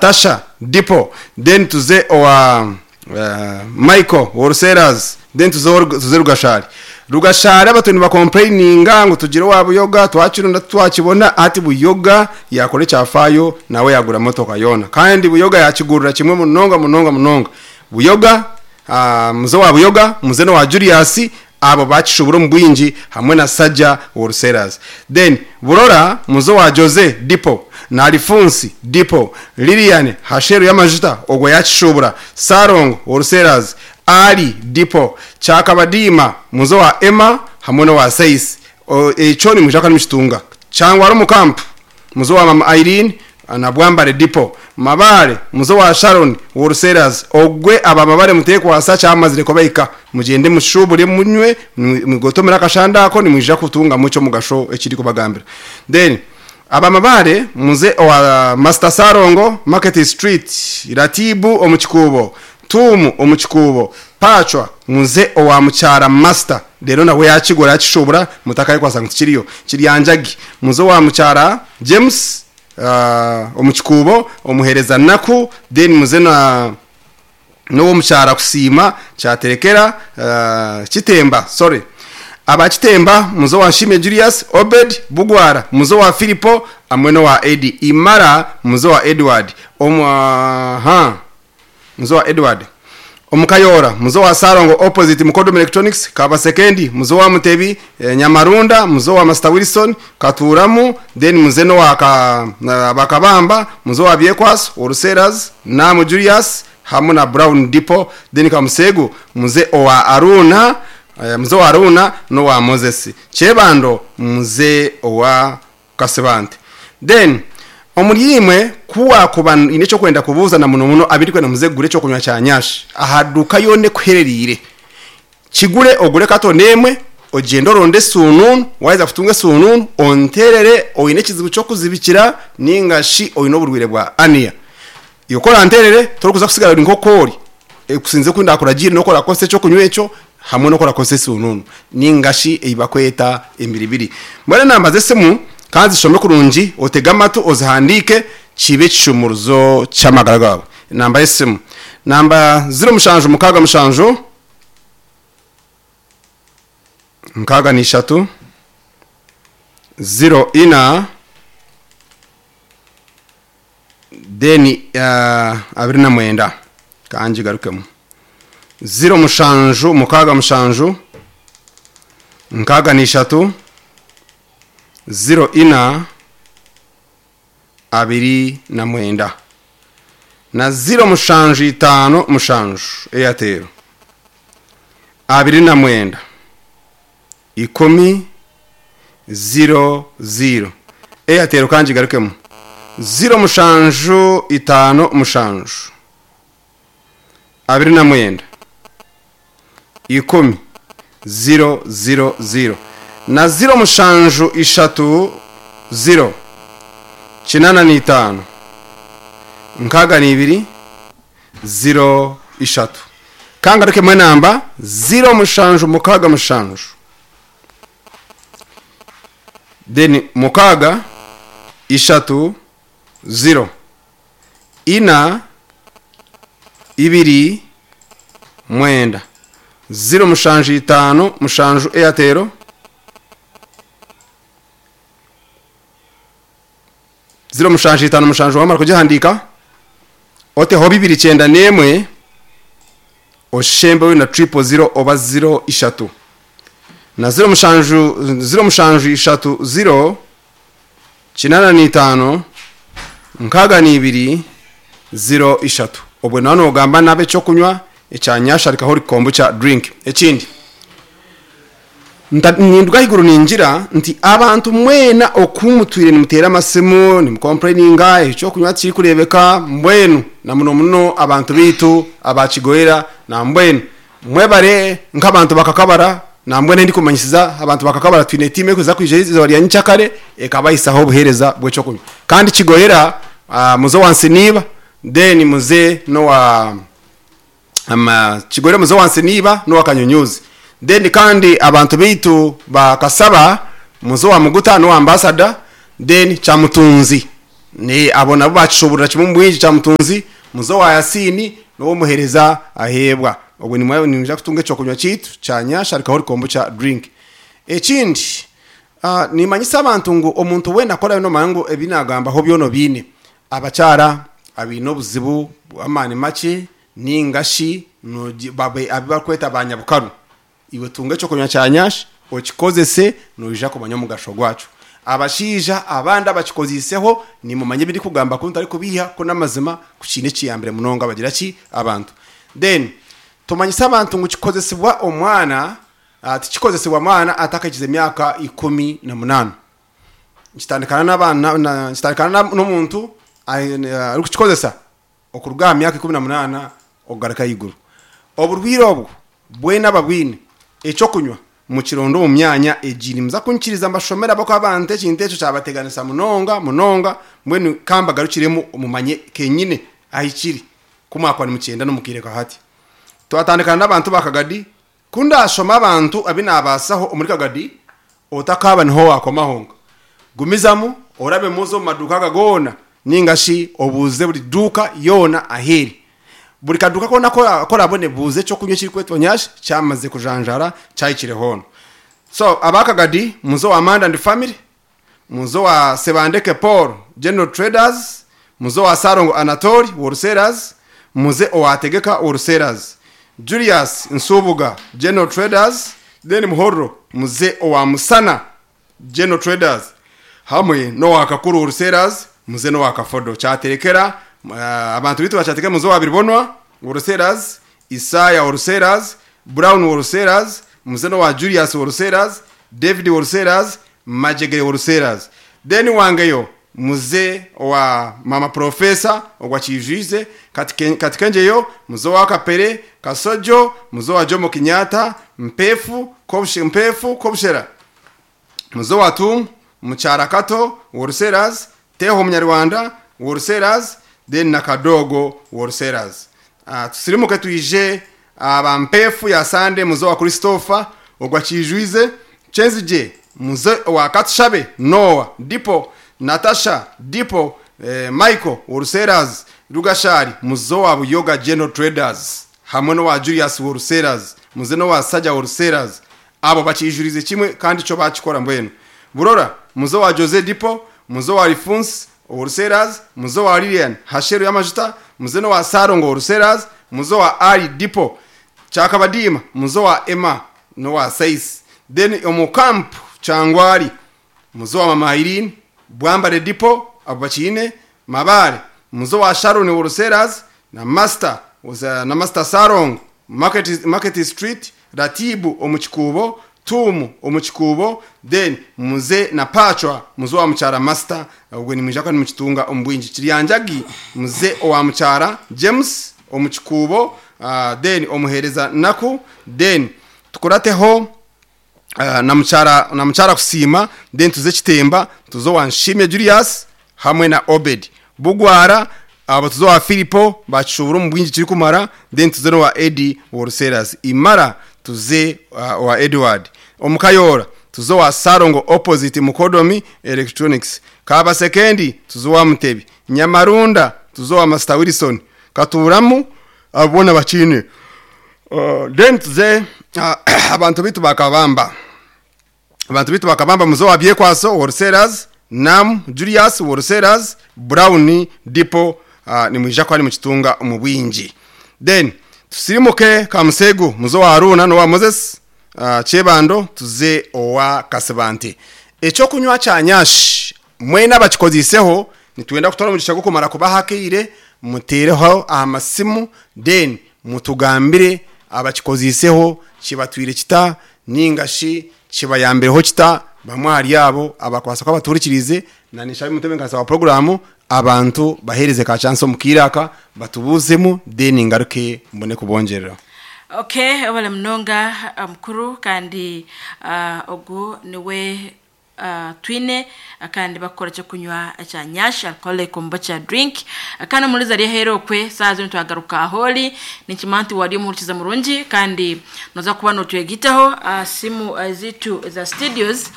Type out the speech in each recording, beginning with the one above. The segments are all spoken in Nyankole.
Tasha Depot then tuze owa Michael Wholesalers then tuze Rugashari. Rugashari abatuire niba complaininga ngu tugire owa Buyoga twakironda titwakibona hati Buyoga yakora ekyafaayo nawe yagura motoka yoona kandi Buyoga yakigurira kimwe munonga munonga munonga. Buyoga muze owa Buyoga muze n'owa Julius Abo bakishubura omu bwingi hamwe na Sajja Wholesalers. Then Burora muze owa Jose Depot na Alifunsi Depot, Lilian Hasheru y'amajuta ogwo yakishubura, Salongo Wholesalers, Ali Depot, Kyakabadiima muze owa Emma hamwe n'owa Saisi. Ekyo nimwija kuba nimukitunga. Kyangwara omu Camp Muze owa Mama Irene na Bwambare Depot, Mabaare, muze owa Sharon Wholesalers, ogwe aba Mabare mutekwasa kyamazire kubahika, mugyende mushubure munywe mugotomere akashanda ako nimwija kutungamu ekyomugasho ekindikubagambira. Then aba Mabaare muze owa Master Salongo, Market Street, Ratibu omu Kikuubo, Tuumu omu Kikuubo, Pacwa muze owa Mukyara Master reero nawe yakigura yakishubura mutakayekwasa ngu tikiriyo. Kiryanjagi muze owa Mukyara James omu Kikuubo, Omuhereza Naku then muze na n'owomukyara Kusiima Kyaterekera Kitemba sorry. Aba Kitemba muze owa Nshimye Julius, Obed Bugwara muze owa Philipo hamwe n'owa Eddy Imara muze owa Edward omu aha. Muze wa Edward omu Kayoora, muze wa Salongo opposite Mukodom Electronics, Kabasekendi, muze owa Mutebi, Nyamarunda, muze owa Master Wilson, Katuuramu, then muze n'owa Bakabamba, muze owa Byekwaso, Wholesalers, Naamu Julius hamu na Brown Depot, then Kamuseegu, muze owa Aruuna, muze owa Aruuna n'owa Moses Kyebando, muze owa Kasibante. Then omuri imwe ku waakuba oine eky'okwenda kubuuza na muno muno abirikwenda muze kugura eky'okunywa kya Nyash aha duuka yoona ekuherereire, kigure ogure katoni emwe ogyende oronde esuunuunu, waaheza kutunga esuunuunu onteerere oine ekizibu ky'okuzibikira nainga shi oine oburwaire bwa ania. Iwe ku oranteerere torikuza kutsigara ori nk'oku ori, okusinziira oku ndakuragiire n'oku orakozesa eky'okunywa ekyo hamwe n'oku orakozesa esuunuunu nainga shi ei barikweta embiribiri. Mbwenu enamba z'esimu ka nzishome kurungi otege amatu ozihandiike kibe ekishumuruzo ky'amagara gaawe. Enamba y'esimu namba ziro mushanju mukaaga mushanju 63 ziro ina. Then 29 ka ngigarukemu ziro mushanju mukaaga mushanju 63 04 29 na ziro mushanju itaano mushanju Airtel 29 10 0 0 Airtel ka ngigarukemu 0 mushanju itaano mushanju 29 10 0 0 0 na 0 mushanju ishatu 0 85 62 0 ishatu Ka ngarukemu enamba 0 mushanju mukaaga mushanju Then mukaaga, ishatu, ziro, ina, ibiri, mwenda, ziro mushanju itaano mushanju Airtel, ziro mushanju itaano mushanju wamara kugihandiika oteho bibiri kyenda n'emwe oshembeho na triple ziro oba ziro ishatu. Na ziro mushanju, ziro mushanju ishatu ziro, 85, 62, ziro ishatu. Obwe noba nogamba n'ab'ekyokunywa ekya Nyasharika Holy Kombucha Drink. Ekindi, nta, ninduga ahaiguru ningira nti abantu mwena oku mutwire nimuteera amasimu, nimukompureyininga, ekyokunywa tikirikureebeka, mbwenu na muno muno abantu baitu aba Kigoyera na mbwenu Mwebare nk'abantu bakakabara, nambwenu ahindikumanyisiza abantu bakakabara twine tiimu erikuza kwija eizooba rya nyikyakare ekabahisaho obuheereza bw'ekyokunywa. Kandi Kigoyera muze owa Nsiniiba then muze n'owa Kigoyera muze owa Nsiniiba n'owa Kanyunyuuzi. Then kandi abantu baitu ba Kasaba muze owa Muguta n'owa Ambassador then Kyamutunzi. Ni abo nabo bakishoborera kimwe omu bwingi Kyamutunzi, muze owa Yasiini n'ow'omuheereza Aheebwa. Obwo nimwe nimwija kutunga ekyokunywa kyaitu kya Nyash Alcoholic Kombucha Drink. Ekindi, ah, nimanyisa abantu ngu omuntu weena ku oraabe noomanya ngu ebi naagambaho byona obiine, abakyara abaine obuzibu bw'amaani makye nainga shi noogi babe abu barikweta banyabukaru, Iwe tunga eky'okunywa kya nyash, okikozese, noija kumanya omugasho gwakyo. Abashaija abandi abakikoziiseho, nimumanya ebi ndikugamba ku ntarikubiiha, ku n'amazima, ku kiine ekiyambire munonga bagira ki? Abantu. Then, tumanyise abantu ngu kikozesibwa omwana, tikikozesibwa mwana atakahikize myaka 18. Nikitandikana n'abaana, nikitandikana n'omuntu arikukikozesa okuruga aha myaka 18 okugaruka ahaiguru. Oburwaire obwo bwena ababwine, eky'okunywa mukironde omu myanya egi. Nimuza kunyikiriza mbashomere ahabw'okuba abantu ekintu ekyo kyabateganisa munonga munonga, mbwenu ka mbagarukiremu mumanye kenyine ahi kiri ku mwakuba nimukyenda n'omu kaire ka hati. Twatandikana n'abantu ba Kagadi, ku ndaashome abantu abu naabaasaho omuri Kagadi, otakaaba niho waakoma honka. Gumizamu orabemu oze omu maduuka aga goona nainga shi obuuze buri duuka yoona ahu eri. Buri kaduuka koona aku oraabone buuza eky'okunywa ekirikwetwa Nyash kyamazire kujanjaara kyahikire hoona. So aba Kagadi muze owa Manda and Family, muze owa Sebandeke Paul General Traders, muze owa Ssalongo Anatoli Wholesalers, muze owa Tegeka Wholesalers, Julius Nsubuga General Traders, then Muhorro muze owa Musana General Traders hamwe n'owa Kakuru Wholesalers muze n'owa Kafodo kyaterekera abantu baitu bakyaterekera muze owa Biribonwa Wholesalers, Isaya Wholesalers, Brown Wholesalers, muze n'owa Julius Wholesalers, David Wholesalers, Majegere Wholesalers. Then wangeyo muze owa Mama Professor ogwa Kiijwize, Katikenjeyo, muze owa Kapere, Kasojo, muze owa Jomo Kenyatta, Mpeefu, Mpeefu, Kobushera, muze owa Tuumu, Mukyara Kato, Wholesalers, Teho Omunyarwanda, Wholesalers, then na Kadogo Wholesalers. Tusirimuke twije aba Mpeefu ya Sande, muze owa Christopher, ogwa Kiijwize, Kyenzigye, muze owa Katushabe, Noah, Dipo, Natasha, Dipo, Michael, Wholesalers, Rugashari, muze owa Buyoga General Traders, hamwe n'owa Julius Wholesalers, muze n'owa Saja Wholesalers. Abo bakiijurize kimwe kandi kyo baakikora mbwenu. Burora, muze owa Jose Dipo, muze owa Lifunsi Wholesalers, muze owa Lilian Hasheru y'amajuta, muze n'owa Sarongo Wholesalers, muze owa Ali Dipo, Kyakabadiima, muze owa Emma n'owa Saisi. Then omu Camp Kyangwali, muze owa Mama Irene, Bwambare Dipo, abo bakiine, Mabaare, muze owa Sharon Wholesalers na Master na Master Sarongo, Market, Market Street, Ratibu omu Kikuubo, Tuumu omu Kikuubo, then muze na Pacwa muze owa Mukyara Master, obwo nimwija kuba nimukitunga omu bwingi. Kiryanjagi muze owa Mukyara James omu Kikuubo, then omuheereza Naku, then tukurateho na Mukyara na Mukyara Kusiima, then tuze Kitemba tuze owa Nshimye Julius hamwe na Obed Bugwara, abo tuze owa Filipo bakishuubura omu bwingi kirikumara, then tuze n'owa Eddie Wholesalers Imara tuze owa Edward omu Kayoora tuze owa Ssalongo opposite Mukodomi Electronics Kabasekendi tuze owa Mutebi Nyamarunda tuze owa Master Wilson Katuuramu abo boona bakiine. Then tuze abantu baitu ba Kabamba. Abantu baitu ba Kabamba muze owa Byekwaso Wholesalers, Nam Julius Wholesalers, Brown Depot nimwija kuba nimukitunga omu bwingi. Then tusirimuke Kamuseegu muze owa Haruna n'owa Moses Kyebando tuze owa Kasibante. Ekyokunywa kya Nyash mwena abakikoziiseho nitwenda kutwara omugisha gw'okumara kubaha akaire muteereho aha masimu then mutugambire abakikoziiseho kibatwire kita ninga shi kibayambireho kita bamwe ahari abo abakubaasa kuba batuhurikiriize na ninshaba omutebeekanisa wa puroguraamu abantu baheereze ka chance omu kaire aka batubuuzemu then ngaruke mbone kubongyerera. Okay, webale munonga mukuru kandi ogu niwe Twine kandi bakukora ekyokunywa ekya Nyash alcoholic kombucha drink. Kandi omuhuriza ari aheeru okwe saaha zinu twagaruka ahoori. Ninkimanya nti wari omuhurikiza murungi kandi noza kuba notwegitaho aha simu ziitu eza studios.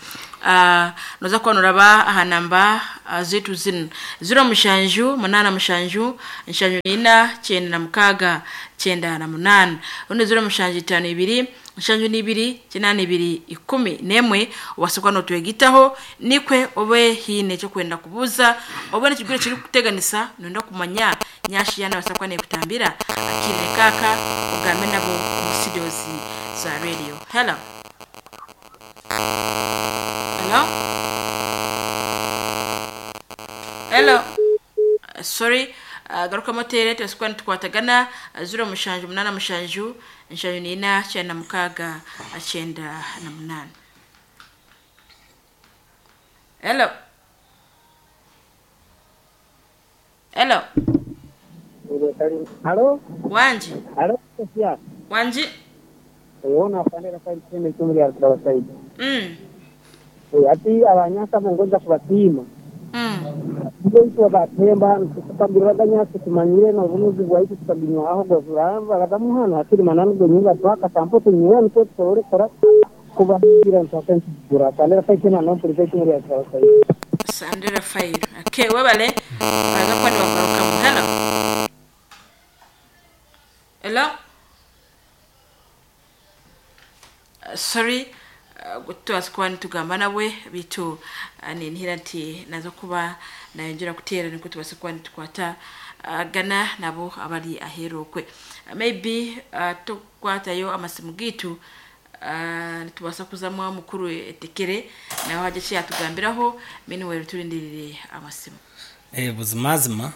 Noza kuba noraba aha namba zitu zinu 07 87 74 96 98 rundi 0752 72 82 11 obasa kuba notwegitaho nikwe obe hiine ekyokwenda kubuuza obe nekigwire kirikuteganisa noyenda kumanya nyashi yaana abasa kuba nekutambira akiire kaaka ogambe nabo omu studios za radio. Hello, hello, hello. Sorry, garukamu oteere tubase kuba nitukwatagana 0787 74 96 98. Hello, hello. Halo, wanji. Halo, Sofia. Wanji. Uona afanira kwa mtende tumuri ya Saidi. Ati abanyasa bongoza kubapima. Ndio batemba tukaguraga nyasi tumanyire na ubunuzi bwaitu tukabinywa aho gozuramba gadamu hano hatiri mananu gonyumba twaka sampo tunywe nitwe tusobole kora kubagira ntaka nkigura sandera fa kina no pulise tumuri ya Saidi. Sandra Fair. Okay, webale baza kuba nibagarukamu. Hello, hello. Sorry, tubaza kuba nitugamba nawe bitu ninhira nti naza kuba nayongera kuteera nikwo tubase kuba nitukwata gana nabo abari aheeru okwe. Maybe tukwatayo amasimu gitu nitubasa kuzamu mukuru etekere nawe hajya kyatugambiraho meanwhile turindirire amasimu. Buzimazima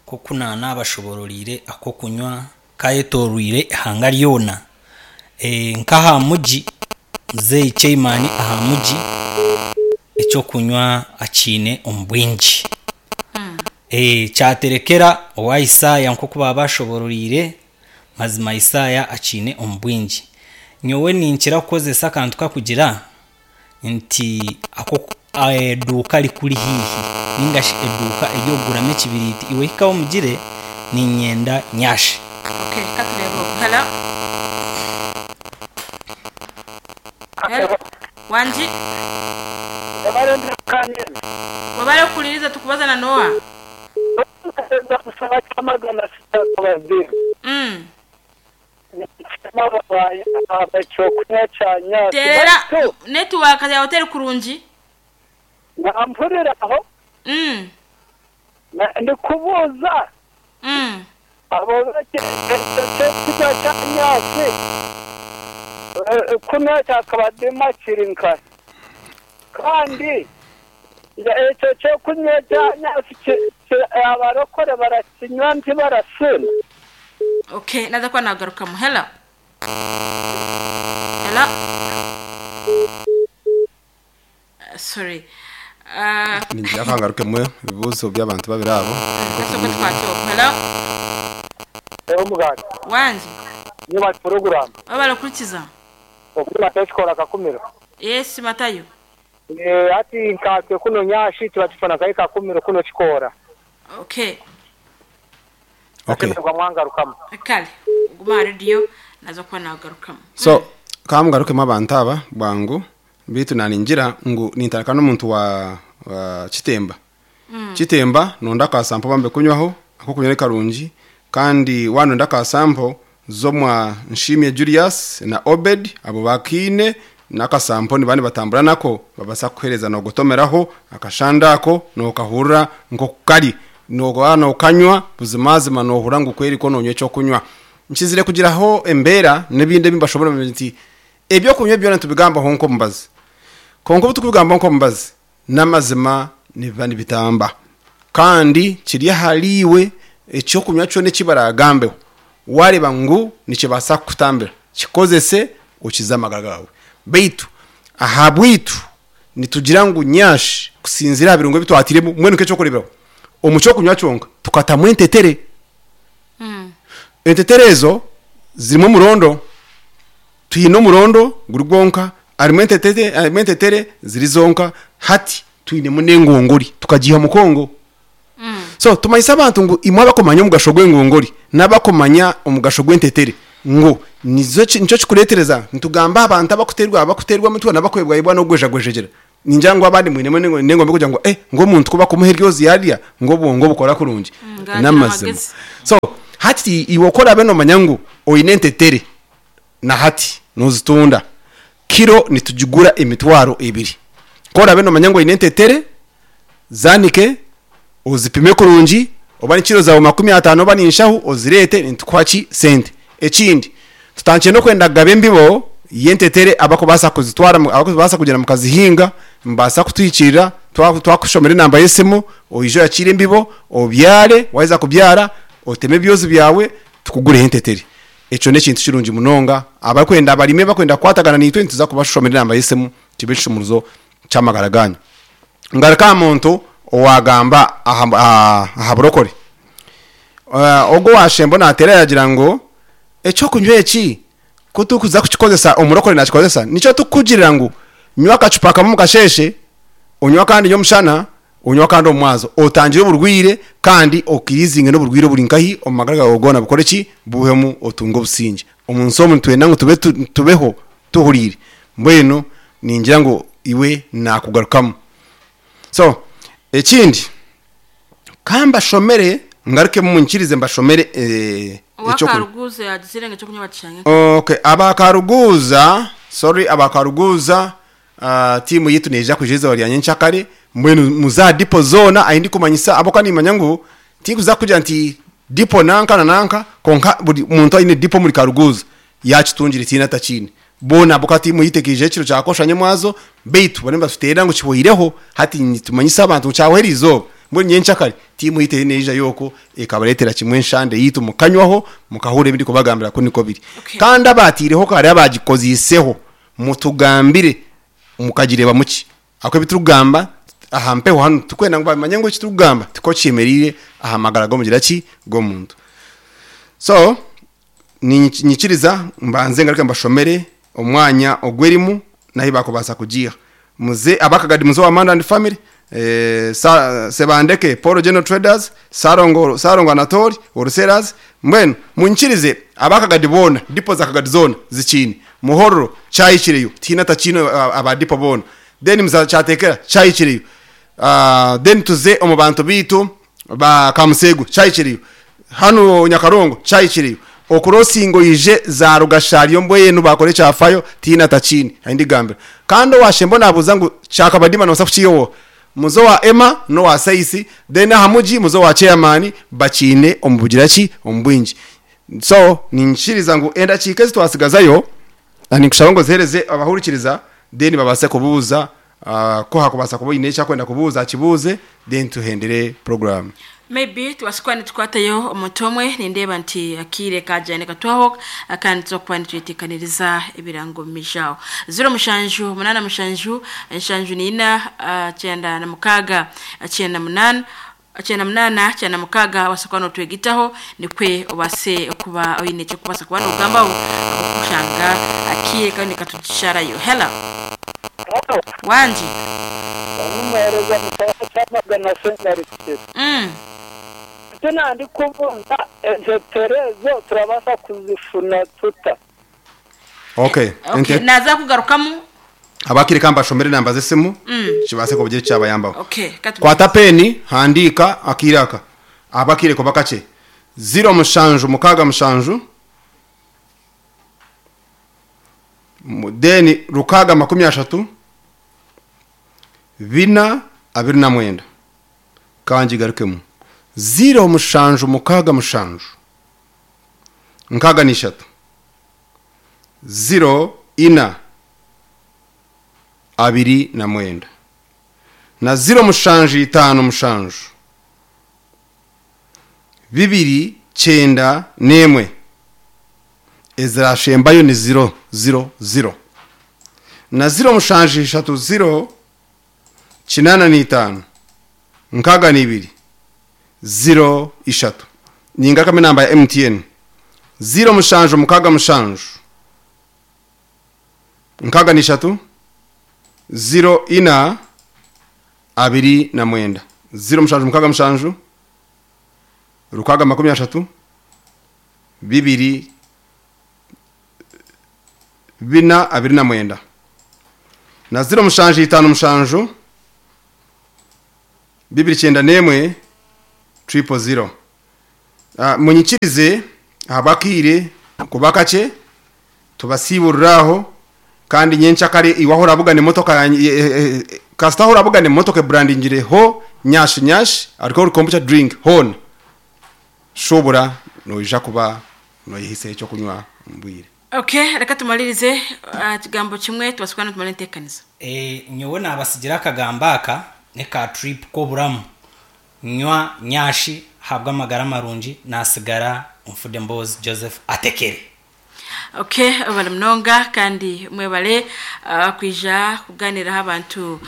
koku nabashobororire akokunywa kayetorwire ihanga ryona nkaha muji muzeyi chairman aha muji ekyokunywa akiine omu bwingi. Kyaterekera owa Isaya nkoku baba bashobororire mazima Isaya akiine omu bwingi. Nyowe ninkira kukozesa akantu kakugira nti ako eduuka rikuri hihi ningashi eduuka eryokuguramu ekibiriti iwe hikaho omugire ninyenda nyashi. Okay, katurebe oku. Hello, hello. Wanji. Wabale kukuliriza tukubaza na Noah. Terera network ya hoteli kurungi. Nampurira aho. Ndikubuuza. Abo ekyokunywa kya nyasi kunywa kyakabadima kiri nkari kandi ekyo kyokunywa kya nyasi abarokore barakinywa ntibarasina. Okay, naza kuba nagarukamu. Hello, hello. Sorry. Ningira kangarukemu ebibuuzo by'abantu babiri abo. Kasoko tukwate oku. Hello. Eho muganga. Wanji. Niba program. Wabale kurikiza. Okuna tekikora kakumiro. Yes, Matayo. Ati nkatwe kuno nyashi tuba kai kakumiro kuno kikora. Okay. Okay. Mwangarukamu. Kale, guma radio nazo kuba nagarukamu. So kamugarukemu abantu aba bwangu bitu naningira ngu nintaraka n'omuntu wa Kitemba. Kitemba nonda akasampo bambe kunywaho ako kunywa karungi kandi wanonda akasampo zomwa Nshimye Julius na Obed abo bakine nakasampo ni bani batambura nako babasa kuhereza no gutomeraho akashandako no kahurra nko kari no no kanywa buzimazima no hura ngo kweri ko nonywe cyo kunywa nkizire kugiraho embera nibinde bimbashobora nti ebyo kunywa byona tubigamba honko mbazi konko tukubigamba honko mbazi namazima niba nibitamba kandi kiri haliwe ekyo kunywa cyo nekibaragambeho wareba ngu nikibasa kutambira kikozese ukiza amagara gawe beitu ahabwitu nitugira ngu nyashi kusinzira birungo bitwatiremo mwene cyo kureberaho omucyo kunywa cyonka tukatamwe entetere. Entetere ezo zirimo murondo tuyino murondo guri gwonka arimo entetere arimo entetere ziri zonka hati tuyine munengongori tukagiha mukongo. So tumanyisa abantu ngu imwe abakomanya omugasho gw'engongori n'abakomanya omugasho gw'entetere ngo nizo nicyo kikuretereza nitugamba abantu abakuterwa abakuterwa mutwe n'abakwebwa ibwa no gwejagwejegera Ningira ngu abandi mwinemu n'engombe kugira ngu eh ngu omuntu ku bakumuha eryozi yarya ngu obwongo bukora kurungi. Ngu agira N'amazima. amagezi. So hati iwe ku oraabe noomanya ngu oine entetere na hati noozitunda, kiro nitugigura emitwaro ebiri. Ku oraabe noomanya ngu oine entetere, zaanike, ozipime kurungi, oba ni kiro zaawe 50 oba ni nshahu ozireete nitukuha ki? Sente. Ekindi, tutandikire n'okwenda kugaba embibo y'entetere abarikubaasa kuzitwara abarikubaasa kugyenda mukazihinga, nimubaasa kutuhikiirira twakushomera enamba y'esimu, oije oyakiire embibo, obyare, waaheza kubyara oteme ebyozi byawe tukugureho entetere. Ekyo n'ekintu kirungi munonga, abarikwenda abarimi abarikwenda kukwatagana naitwe nituza kubashomera enamba y'esimu kibe ekishumuruzo ky'amagara gaanyu. Ngaruka aha muntu owaagamba aha burokore. Ogwo owaashemba naateera yaagira ngu eky'okunywa eki ku turikuza kukikozesa, omurokore naakikozesa, nikyo turikukugirira ngu nywa akacupa kamwe omu kasheeshe, onywe akandi nyomushana, onywe akandi omu mwazo, otangire oburwaire kandi okirizinge n'oburwaire oburi nkahi omu magara gaawe goona bukore ki? Buhwemu otunge obusingye. Omu nsi omu nitwenda ngu tube tubeho tuhuriire. Mbwenu ningira ngu iwe naakugarukamu. So ekindi, ka mbashomere ngarukemu munyikirize mbashomere Owa eky'okunywa. Karuguuza yaagizire ngu eky'okunywa bakishange nka. Okay, aba Karuguuza, sorry aba Karuguuza tiimu yaitu neija kwija eizooba rya nyenkyakare, mbwenu muze aha dipo zoona ahi ndikumanyisa ahabw'okuba nimanya ngu tinkuza kugira nti dipo nanka na nanka kwonka buri muntu aine dipo omuri Karuguuza yaakitungire tihaine atakiine. Boona ahabw'okuba tiimu yaitu ekaija ekiro kya kosha nyomwazo beitu bariyo nibatuteerera ngu kihweireho hati nitumanyisa abantu ngu kyahwa eriizooba. Mbwenu nyenkyakare tiimu yaitu eriyo neija okwo ekabareetera kimwe enshande yaitu mukanywaho mukahurira ebi ndikubagambira ku nikwo biri. Okay. Kandi abaataireho kare abaagikoziiseho Mutugambire mukagireebamu ki? Ahabw'okuba ebi turikugamba aha mpeho hanu turikwenda ngu bamanye ngu eki turikugamba tikwo kyemereire aha magara g'omugira ki? G'omuntu. So niinyikiriza mbanze ngaruke mbashomere omwanya ogu erimu n'ahu baakubaasa kugiiha. Muze ab'akagadi muze owa Manda and Family, Sebandeke Paul General Traders, Sarongo Sarongo Anatoli, Wholesalers, mbwenu munyikirize ab'akagadi boona, dipo za Kagadi zoona zikiine, Muhorro kyahikireyo, tihaine atakiine aba dipo boona, then muza Kyateekera kyahikireyo, then tuze omu bantu baitu ba Kamuseegu kyahikireyo, hanu Nyakarongo kyahikireyo, okurosinga oije za Rugashari mbwenu bakora ekyafayo tihaine atakiine ahi ndigambira. Kandi owashemba nabuuza ngu kyakabadima nobaasa kukiiha oha? Muze owa Emma n'owa Saisi then aha mugi muze owa chairman bakiine omu bugira ki omu bwingi. So niinyikiriza ngu endakiika ezi twasigazayo ninkushaba ngu oziheereze abahurikiriza then babaase kubuuza ku hakubaasa kuba oine eki arikwenda kubuuza akibuuze then tuhendere puroguraamu. Maybe tubaase kuba nitukwatayo omuntu omwe, nindeeba nti akaire kaagira nikatwaho kandi nituza kuba nitweteekaniriza ebirango omu maisho aho. Ziro mushanju munaana mushanju nshanju naina 96 98 98 96 obaase kuba nootwegitaho nikwe obaase kuba oine eki orikubaasa kuba noogambaho ahabw'okushanga akaire kariyo nikatusharayo. Hello. Hello. Wangi. Omuheereza Mutaaya Kyamagana Senderi. Eki nandikubuuza entetere ezo turabaasa kuzifuna tuta? Okay. Okay, naaza kugarukamu. Abakire ka mbashomere enamba z'esimu kibaase kugira eki kyabayambaho. Okay, ka Kwata peeni, handiika akaire aka ahabw'akaire kuba kakye. Ziro mushanju mukaaga mushanju, then rukaaga 30, bina 29. Ka ngigarukemu. Ziro mushanju mukaaga mushanju, 63, ziro ina 29. Na ziro mushanju itaano mushanju, bibiri 91. Ezirashembayo ni ziro ziro ziro. Na ziro mushanju ishatu ziro 85 62 ziro ishatu. Ningarukamu enamba ya MTN. Ziro mushanju mukaaga mushanju 63 ziro ina 29. Ziro mushanju mukaaga mushanju rukaaga 30 bibiri bina 29. Na 0757 291 000. Munyikirize ahabw'akaire kuba kakye tubasiiburire aho kandi nyenkyakare iwe ahu orabugana emotoka yangye kasita ahu orabugana emotoka eburandingire ho nyash nyash alcohol kombucha drink hoona shubura noija kuba noyehisaho ekyokunywa omu bwire. Okay, reka tumaririze aha kigambo kimwe tubaase kuba nitumara enteekaniza. Nyowe nabasigira akagambo aka neka trip k'oburamu nywa nyashi ahabwa amagara marungi nasigara Nfude Mboozi Joseph Atekere. Ok mwebale munonga kandi mwebale kwija kuganiraho abantu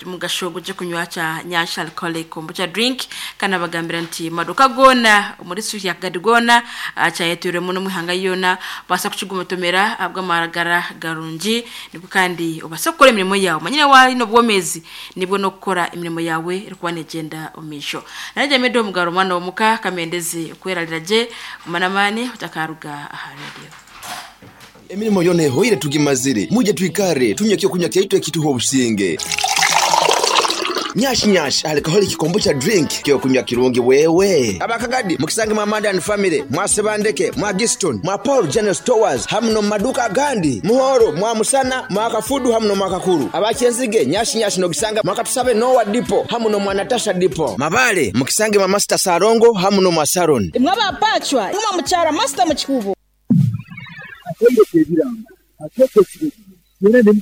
omugasho gw'ekyokunywa kya Nyansha Alcoholic Kombucha Drink kandi nabagambira nti maduka goona omu district ya Kagadi goona kyayetwirwemu n'omu ihanga ryona baasa kukigumotomera ahabw'amagara garungi nibwo kandi obaase kukora emirimo yaawe omanyire waaba oine obwomeezi nibwo n'okukora emirimo yaawe erikuba negyenda omu maisho. Naija Medo Mugaro omwana w'omuka kamendeze kwerarira gye guma n'amaani otakaruga aha radio. Emirimo yoona ehoire tugimazire, mwije twikare tunywe ekyokunywa kyaitu ekituha obusinge. Nyash Nyash Alcoholic Kombucha Drink kyokunywa kirungi wewe. Aba Kagadi mukisange mwa Manda and Family, mwa Sebandeke, mwa Giston, mwa Paul General Stores hamu n'omu maduuka agandi. Muhoro, mwa Musana, mwa Kafudu hamu n'omwa Kakuru. Aba Kyenzige, Nyash Nyash n'ogisanga mwa Katusabe Noah Depot hamu n'omwa Natasha Depot. Mabale mukisange mwa Master Salongo hamu n'omwa Saron. Imwe aba Pacwa, imwe mukyara Master Mukikubo. Atendeka ebirango, ateeka ekiragiro,